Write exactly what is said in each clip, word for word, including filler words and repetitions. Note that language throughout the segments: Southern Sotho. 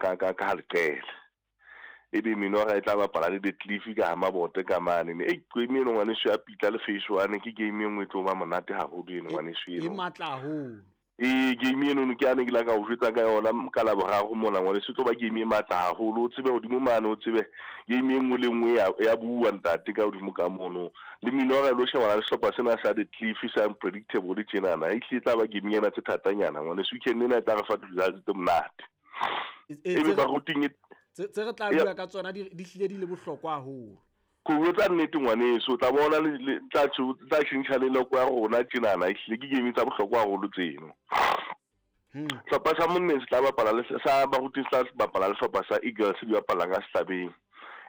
ka ka ka leqele. Ebe Minora e tla bapala le The Cliff ka ha Mabote ka mane. Ei game eno ngwaneso ya Pitla le Phase One ke game e nngwe e tlo ba monate haholo eno ngwaneso E eno. matla haholo. Ee game eno ke ane ke la ka o jwetsa ka yona ka Laboraro mona ngwaneso, e tlo ba game e matla haholo. O tsebe hodimo mane, o tsebe game e nngwe le nngwe ya ya bua ntate ka hodimo ka mono. Le Minora e lo shebana le sehlopha sena sa The Cliff sa unpredictable tjenana. Ehlile e tla ba game ena tse thatanyana ngwaneso. Weekend ena e tla re fa di-results tse monate. E- e- Ebe tse re- baruting e tse tse re tla Ya. bua ka tsona di di hlile di le bohlokwa haholo. Ko botsa nnete ngwaneso, o tla bona le le tla tjho tla tjhentjha le loko ya rona tjenana. Ehlile ke game tsa bohlokwa haholo tseno. Hmm. Sehlopha sa monneng se tla bapala le sa baruti se tla bapala le sehlopha sa Eagles di bapalang ka Sehlabeng.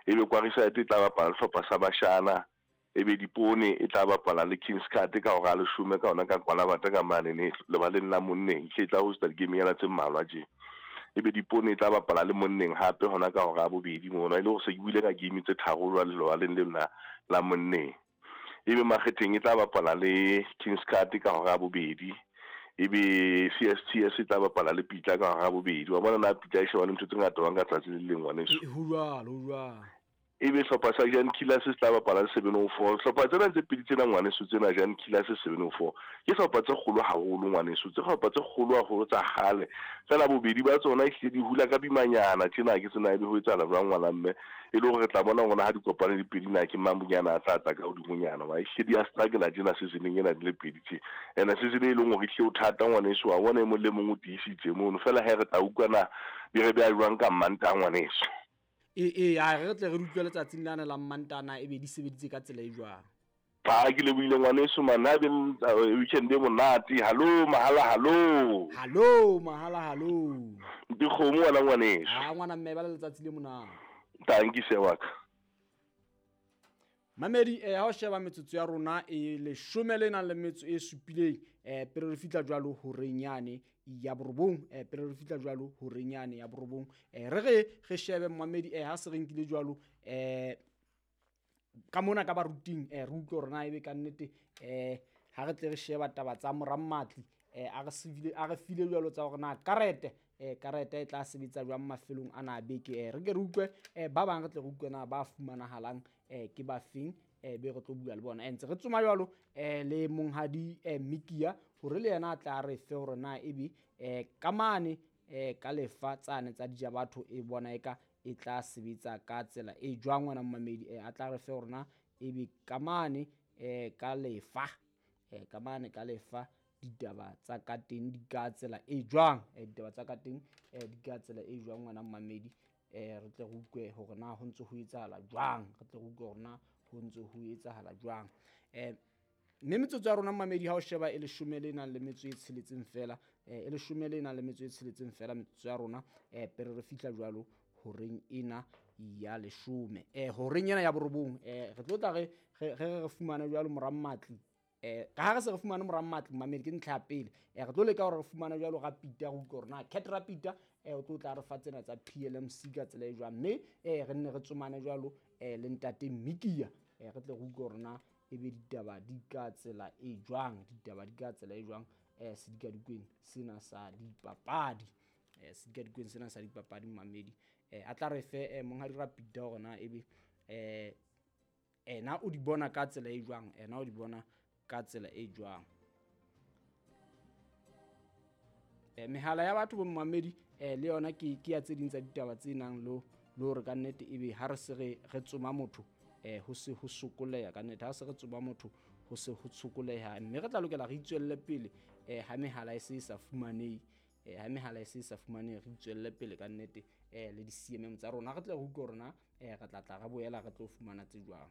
Ebe Kwariside e tla bapala le sehlopha sa Bashana. Ebe Dipone e tla bapala le Kings Cut ka hora ya leshome ka hona ka Kwalabata ka mane ne lebaleng la monneng. Ehlile e tla hosta di-game nyana tse mmalwa tje. Ebe Dipone e tla bapala le monneng hape hona ka hora ya bobedi mono. E le hore se ke buile ka game tse tharo jwale lebaleng lena la, la monneng. Ebe Makgetheng e tla bapala le Kings Cut ka hora ya bobedi. Ebe C S T S e tla bapala le Pitla ka hora ya bobedi. Wa bona na Pitla e shebane ntho tse ngata jwang ka tsatsi le leng ngwaneso. E, ho jwalo, ho jwalo. Ebe sehlopha sa Jan Killers se tla bapala le seven oh four. Sehlopha tsena tse pedi tsena ngwaneso tsena Jan Killers seven oh four ke sehlopha tse kgolo haholo ngwaneso, tse sehlopha tse kgolo haholo tsa kgale. Feela bobedi ba tsona ehlile di hula ka bimanyana tjena ke tsena ebe ho etsahala jwang ngwana mme. E le hore re tla bona hore ha di kopane di pedi na ke mang bonyana a tla tla ka hodimonyana. Wa ehlile di a struggle tjena season-eng ena di le pedi tje. Ene season e leng hore ehlile o thata ngwaneso, wa bona e mong le mong o tiisitse mono. Feela he re tla utlwa na di re beha jwang ka Mmantaha ngwaneso. E, e, a re tle re utlwe letsatsing lana la Mmantaha na ebe di sebeditse ka tsela e jwang. Pa ke lebohile ngwaneso man, ha be le weekend e monate. Hallo mahala, hallo. Hallo mahala, hallo. Dikgomo wena ngwaneso. Ha ngwana mme ba le letsatsi le monate. Thank you sir wa ka. Mamedi, eh, ha o sheba metsotso ya rona e leshome le nang le metso e supileng, eh, pele re fihla jwalo horeng yane ya borobong, eh, pele re fihla jwalo horeng yane ya borobong, eh, re re re shebe mamedi, eh, ha se re nkile jwalo, eh, ka mona ka baruting, eh, re utlwe hore na ebe ka nnete, eh, ha re tle re sheba taba tsa Morammatli, eh, a re sefile, a re file jwalo tsa hore na karete, eh, karete e tla sebetsa jwang mafelong ana a beke. Eh, re ke re utlwe, eh, ba bang re tle re utlwe na ba fumanahalang, eh, ke ba feng, eh, be re tlo bua le bona. Eh, ntse re tsoma jwalo, eh, le monghadi, eh, Mikia hore le yena a tla re fe hore na ebe, eh, ka mane, eh, ka lefa tsane tsa dijabatho e bona eka e tla sebetsa ka tsela e jwang ngwana mmamedi, eh, a tla re fe hore na ebe ka mane, eh, ka lefa, eh, ka mane ka lefa ditaba tsa ka teng di ka tsela e jwang, eh, ditaba tsa ka teng, eh, di ka tsela e jwang ngwana mmamedi, eh, re tle re utlwe hore na ho ntse ho etsahala jwang, re tle re utlwe hore na ho ntse ho etsahala jwang. Eh, mme metsotso ya rona mmamedi ha o sheba e leshome le nang le metso e tsheletseng fela, eh, e leshome le nang le metso e tsheletseng fela metsotso ya rona, eh, pele re fihla jwalo horeng ena ya leshome, eh, horeng ena ya borobong, eh, re tlo tla re, re, re, re fumane jwalo Morammatli, eh, ka ha re se re fumane Morammatli mmamedi ke ntlha ya pele, eh, re tlo leka hore re fumane jwalo Rapita, re utlwe hore na Cat Rapita, eh, o tlo tla re fa tsena tsa P L M C ka tsela e jwang, mme, eh, re nne re tsomane jwalo, eh, le ntate Mikia, eh, re tle re utlwe hore na ebe ditaba di ka tsela e jwang, ditaba di ka tsela e jwang, eh, sedikadikweng sena sa dipapadi, eh, sedikadikweng sena sa dipapadi mmamedi, eh, a tla re fe, eh, monghadi Rapita hore na ebe, eh, ena o di bona ka tsela e jwang, ena o di bona ka tsela e jwang. Eh, mehala ya batho bo mmamedi, eh, le yona ke, ke ya tse ding tsa ditaba tse nang le, le hore ka nnete ebe ha re se re, re tsoma motho, eh, ho se ho sokoleha ka nnete, ha se re tsoma motho ho se ho sokoleha, mme re tla lokela re itswelle pele, eh, ha mehala e se e sa fumanehe, eh, ha mehala e se e sa fumanehe, re itswelle pele ka nnete, eh, le di-C M M tsa rona, re tle re utlwe hore na, eh, re tla tla re boela re tlo fumana tse jwang.